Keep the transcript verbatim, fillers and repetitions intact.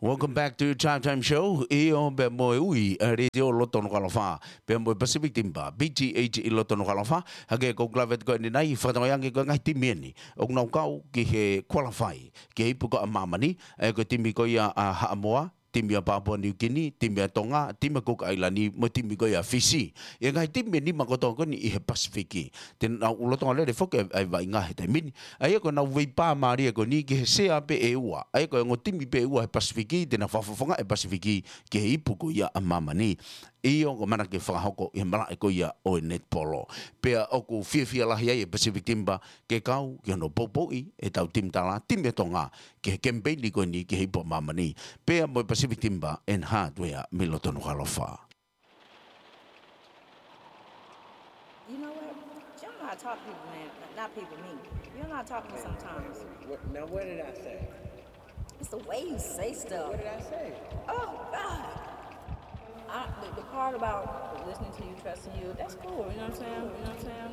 Welcome back to Drive Time Show. ʻIo, pea mo e ui ʻa e letiō loto Nukuʻalofa, pea mo e Pacific Timber, P T H ʻi loto Nukuʻalofa. Hangē ko e klaveti ko eni nai, fakatokangaʻi ange ko e ngaahi timi eni ʻoku nau kau ki he qualify ki he ipu ko ia ʻa māmani, ʻa ia ko e timi ko ia ʻa Haʻamoa, timi ʻa Papua New Guinea, timi ʻa Tonga, timi ʻa Cook ʻAilani, mo e timi ko ia ʻa Fisi. ʻA e ngaahi timi ʻe nima kotoa ko eni ʻi he Pasifiki. Te nau lolotonga lele foki ʻa e vaʻinga he taimi ni. ʻA ia ko ʻenau veipā mālie ko eni ki he sea pē ʻe ua. ʻA ia ko e ongo timi pē ʻe ua he Pasifiki, te nau fakafofongaʻi e Pasifiki ki he ipu ko ia ʻa māmani. ʻIo, ʻoku ʻamanaki ke fakahoko ʻi he malaʻe ko ia ʻo e netipolo. Pea ʻoku fiefia lahi ai e Pacific Timber ke kau ki hono poupouʻi ʻetau timi tala, timi ʻa Tonga, ki he kemipeini ko eni ki he ipu ʻa māmani. Pea mo e Pacific Timber and Hardware mei loto Nukuʻalofa. You know what? You don't know how to talk to people, man. Not people, me. You don't know how to talk to me sometimes. What, now, what did I say? It's the way you say stuff. What did I say? Oh, God. I, the, the part about listening to you, trusting you, that's cool. You know what I'm saying? You know what I'm saying?